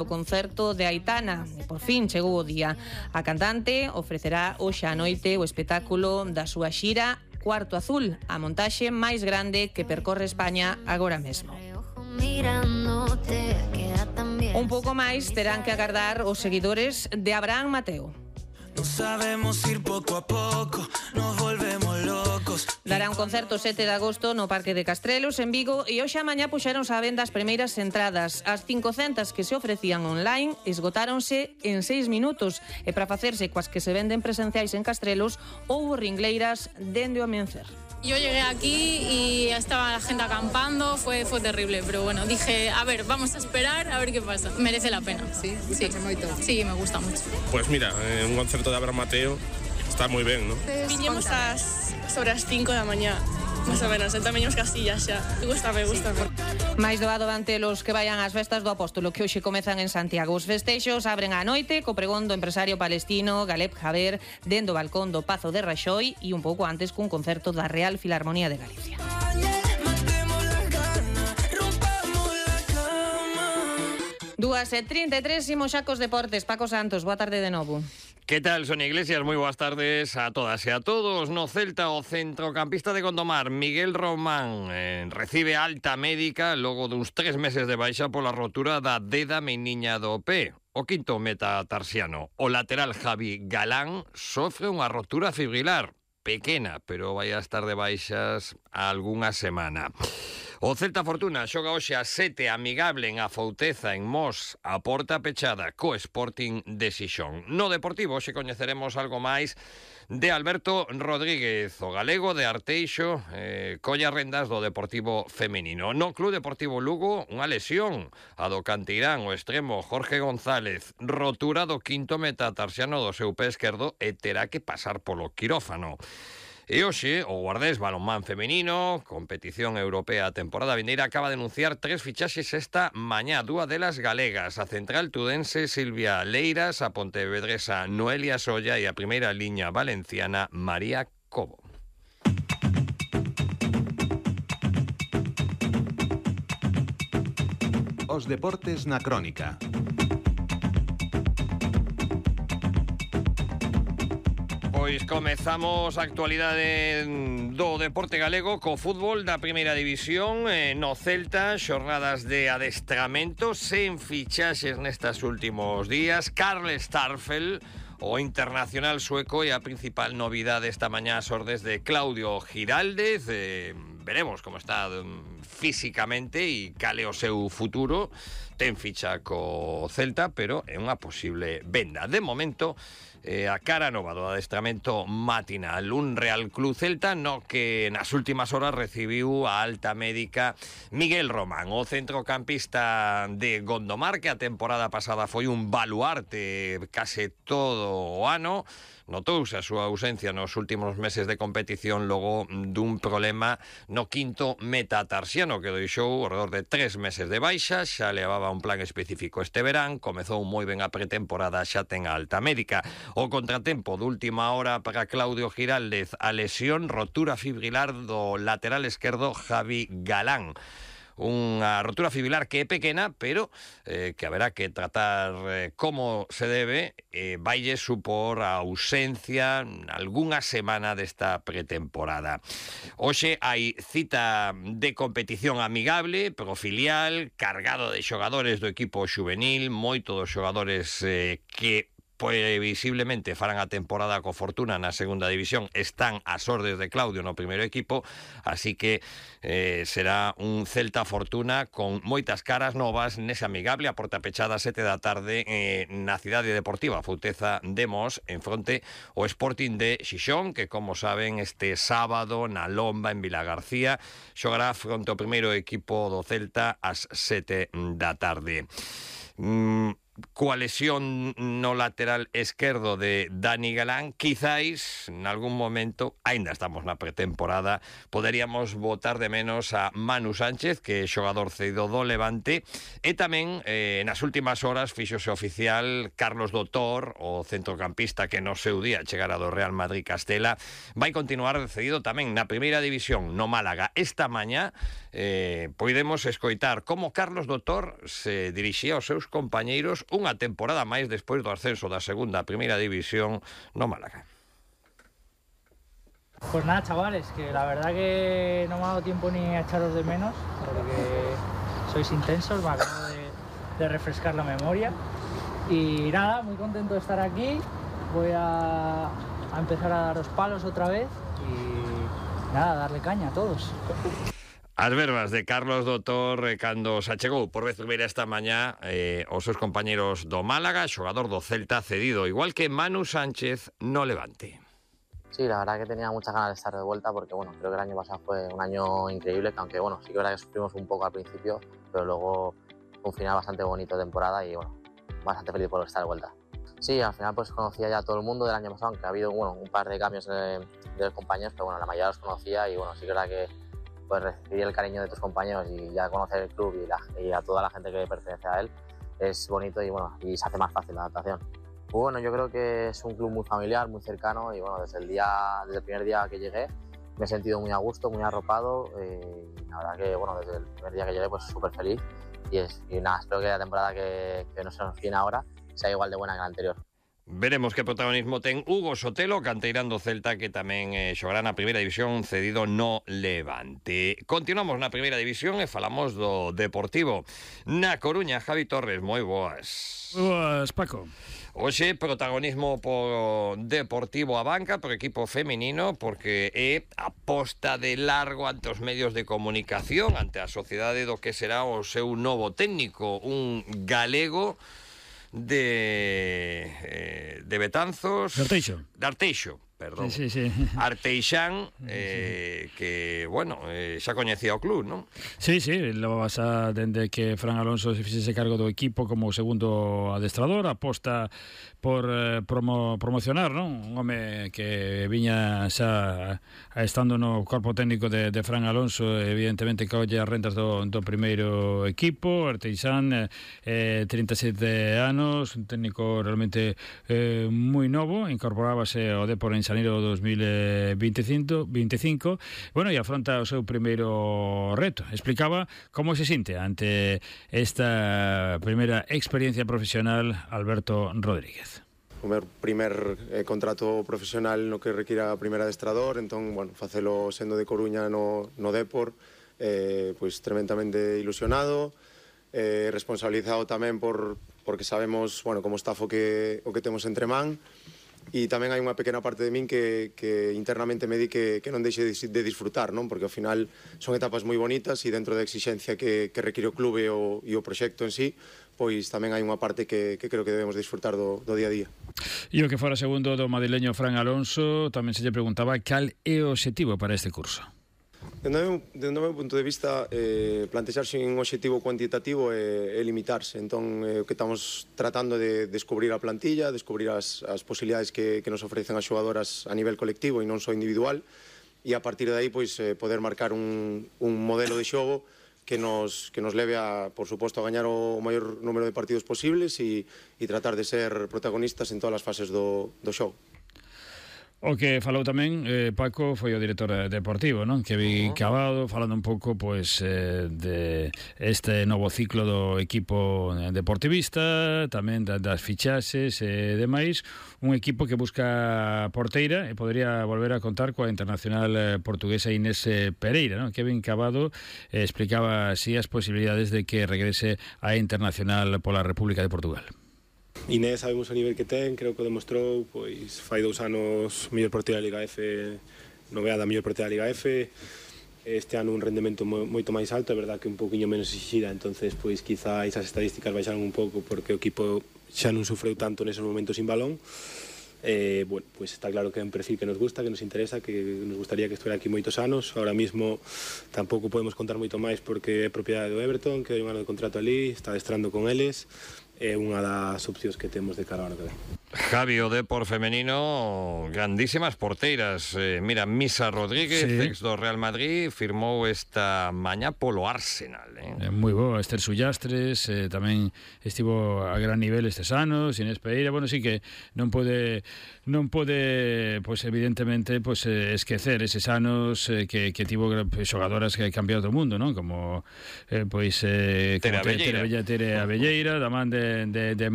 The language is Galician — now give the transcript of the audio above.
O concerto de Aitana, e por fin chegou o día. A cantante ofrecerá hoxe á noite o espectáculo da súa xira Cuarto Azul, a montaxe máis grande que percorre España agora mesmo. Un pouco máis terán que agardar os seguidores de Abraham Mateo. No sabemos ir poco a poco, nos volvemos locos. Dará un concerto 7 de agosto no Parque de Castrelos, en Vigo, e hoxe a mañá puxéronse á venda as primeiras entradas. As 500 que se ofrecían online esgotáronse en 6 minutos, e para facerse coas que se venden presenciais en Castrelos, houbo ringleiras dende o amencer. Yo llegué aquí y estaba la gente acampando, fue terrible, pero bueno, dije, a ver, vamos a esperar a ver qué pasa. Merece la pena. Sí, sí, me gusta mucho. Pues mira, un concerto de Abraham Mateo está moi ben, non? Viñemos sobre as 5 da mañá, máis ou menos, entón veñemos Castillas xa. Me gusta. Máis doado ante los que vayan ás festas do Apóstolo, que hoxe comezan en Santiago. Os festexos abren á noite co pregón do empresario palestino Galeb Jaber dende o balcón do Pazo de Raxoi e un pouco antes cun concerto da Real Filarmonía de Galicia. 2:33, imos xa cos deportes. Paco Santos, boa tarde de novo. ¿Qué tal, Sonia Iglesias? Muy buenas tardes a todas y a todos. No Celta, o centrocampista de Gondomar, Miguel Román, recibe alta médica logo duns 3 meses de baixa pola rotura da deda meniña do pé. O quinto metatarsiano, o lateral Javi Galán, sofre unha rotura fibrilar. Pequena, pero vai a estar de baixas algunha semana. O Celta Fortuna xoga hoxe a 7 amigable en Afouteza, en Mos, a porta pechada co Sporting de Xixón. No Deportivo hoxe coñeceremos algo máis de Alberto Rodríguez, o galego de Arteixo, colla rendas do Deportivo femenino. No Club Deportivo Lugo, unha lesión, a do canteirán, o extremo Jorge González, rotura do quinto metatarsiano do seu pé esquerdo e terá que pasar polo quirófano. E hoxe, o Guardés balonmán femenino, competición europea a temporada vindeira, acaba de anunciar 3 fichaxes esta mañá, 2 delas galegas, a central tudense Silvia Leiras, a pontevedresa Noelia Solla e a primeira liña valenciana María Cobo. Os deportes na crónica. Pois comezamos a actualidade do deporte galego co fútbol da primeira división. No Celta, xornadas de adestramento sen fichaxes nestas últimos días. Karl Starfel, o internacional sueco, e a principal novidade esta mañá ás ordes de Claudio Giraldez. Veremos como está físicamente e cale o seu futuro. Ten ficha co Celta, pero é unha posible venda. De momento, a cara nova do adestramento matinal, un Real Club Celta no que nas últimas horas recibiu a alta médica Miguel Román, o centrocampista de Gondomar, que a temporada pasada foi un baluarte case todo o ano. Notouse a súa ausencia nos últimos meses de competición logo dun problema no quinto metatarsiano que deixou ao redor de 3 meses de baixa. Xa levaba un plan específico este verán, comezou moi ben a pretemporada, xa ten a alta médica. O contratempo de última hora para Claudio Giraldez, a lesión, rotura fibrilar do lateral esquerdo Javi Galán. Unha rotura fibrilar que é pequena, pero que haberá que tratar como se debe. Vaille supor a ausencia algunha semana desta pretemporada. Hoxe hai cita de competición amigable, profilial, cargado de xogadores do equipo xuvenil, moitos dos xogadores que previsiblemente farán a temporada co Fortuna na segunda división están ás ordes de Claudio no primeiro equipo, así que será un Celta Fortuna con moitas caras novas nese amigable a porta pechada 7 da tarde na cidade deportiva Afouteza de Mos, en fronte o Sporting de Xixón, que como saben este sábado na Lomba en Vilagarcía xogará fronte ao primeiro equipo do Celta ás 7 da tarde. coa lesión no lateral esquerdo de Dani Galán, quizáis en algún momento, aínda estamos na pretemporada, poderíamos botar de menos a Manu Sánchez, que é xogador cedido do Levante, e tamén nas últimas horas fíxose oficial Carlos Doutor, o centrocampista que no seu día chegara do Real Madrid Castela, vai continuar cedido tamén na primeira división no Málaga. Esta mañá podemos escoitar como Carlos Doutor se dirixía aos seus compañeiros unha temporada máis despois do ascenso da segunda a primeira división no Málaga. Pues nada, chavales, que la verdad que no me ha dado tiempo ni a echaros de menos, porque sois intensos, me acabo de refrescar la memoria. Y nada, muy contento de estar aquí, voy a empezar a daros palos otra vez y nada, darle caña a todos. As verbas de Carlos Doutor cando se achegou por vez primeira esta mañá os seus compañeros do Málaga, xogador do Celta cedido, igual que Manu Sánchez no Levante. Sí, la verdad que tenía muchas ganas de estar de vuelta porque bueno, creo que el año pasado fue un año increíble, que aunque bueno, sí que es verdad que sufrimos un poco al principio, pero luego un final bastante bonito de temporada y bueno, bastante feliz por estar de vuelta. Sí, al final pues conocía ya a todo el mundo del año pasado, aunque ha habido bueno, un par de cambios de los compañeros, pero bueno, la mayoría los conocía y bueno, sí que es verdad que pues recibir el cariño de tus compañeros y ya conocer el club y a toda la gente que pertenece a él es bonito y bueno, y se hace más fácil la adaptación. Pues bueno, yo creo que es un club muy familiar, muy cercano y bueno, desde el primer día que llegué me he sentido muy a gusto, muy arropado y la verdad que bueno, desde el primer día que llegué pues súper feliz y nada, espero que la temporada que no se nos viene ahora sea igual de buena que la anterior. Veremos que protagonismo ten Hugo Sotelo, canteirán do Celta, que tamén xogará na primeira división cedido no Levante. Continuamos na primeira división e falamos do Deportivo. Na Coruña, Javi Torres, moi boas. Boas, Paco. Hoxe, protagonismo por Deportivo a banca, por equipo feminino, porque é aposta de largo ante os medios de comunicación, ante a sociedade do que será o seu novo técnico, un galego de Betanzos, de Arteixo, perdón. Sí. Arteixán, que, bueno, xa coñecía o club, non? Sí, lo pasa dende que Fran Alonso se fixese cargo do equipo como segundo adestrador, aposta por promocionar, non? Un home que viña xa estando no corpo técnico de Fran Alonso, evidentemente colle as rentas do primeiro equipo. Arteixán, 37 anos, un técnico realmente moi novo, incorporábase ao Depor en xaneiro 2025, bueno, e afronta o seu primeiro reto. Explicaba como se sinte ante esta primeira experiencia profesional Alberto Rodríguez. O meu primer contrato profesional no que requira a primeira adestrador, entón, bueno, facelo sendo de Coruña no Depor, pois tremendamente ilusionado, responsabilizado tamén porque sabemos, bueno, como está o que temos entre man, e tamén hai unha pequena parte de min que internamente me di que non deixe de disfrutar, non? Porque ao final son etapas moi bonitas e dentro da exigencia que require o clube e o proxecto en sí, pois tamén hai unha parte que creo que debemos disfrutar do día a día. E o que fora segundo do madrileño Fran Alonso, tamén se lle preguntaba cal é o obxectivo para este curso. Dende o meu punto de vista, plantexarse un obxectivo cuantitativo é limitarse. Entón, o que estamos tratando de descubrir a plantilla, descubrir as posibilidades que nos ofrecen as xogadoras a nivel colectivo e non só individual, e a partir de aí pois, poder marcar un modelo de xogo que nos leve a, por suposto, a gañar o maior número de partidos posibles e tratar de ser protagonistas en todas as fases do xogo. O que falou tamén, Paco, foi o director deportivo, non? Kevin Cabado, falando un pouco pois de este novo ciclo do equipo deportivista, tamén das fichaxes e demais, un equipo que busca porteira e podría volver a contar coa internacional portuguesa Inés Pereira, non? Kevin Cabado explicaba así as posibilidades de que regrese a internacional pola República de Portugal. Inés sabemos o nivel que ten, creo que o demostrou, pois fai 2 anos mellor porteira da Liga F, nomeada mellor porteira da Liga F. Este ano un rendemento moito máis alto, é verdad que un pouquiño menos exixida, entonces pois quizá esas estadísticas baixaron un pouco porque o equipo xa non sufreu tanto neses momentos sin balón. Bueno, pues está claro que é un perfil que nos gusta, que nos interesa, que nos gustaría que estuviera aquí moitos anos. Ahora mismo tampouco podemos contar moito máis porque é propiedade do Everton, que hai un ano de contrato ali, está adestrando con eles. é unha das opcións que temos de cara ao ano que ven. Javi, o Depor femenino, grandísimas porteiras. Mira, Misa Rodríguez, Sí. ex do Real Madrid, firmou esta mañá polo Arsenal. Moi boa, Esther Sullastres, tamén estivo a gran nivel estes anos, Inés Pereira, bueno, sí que non pode pois evidentemente pois esquecer eses anos que tivo xogadoras que cambiado do mundo, non? Como pois Tere Abelleira, da man de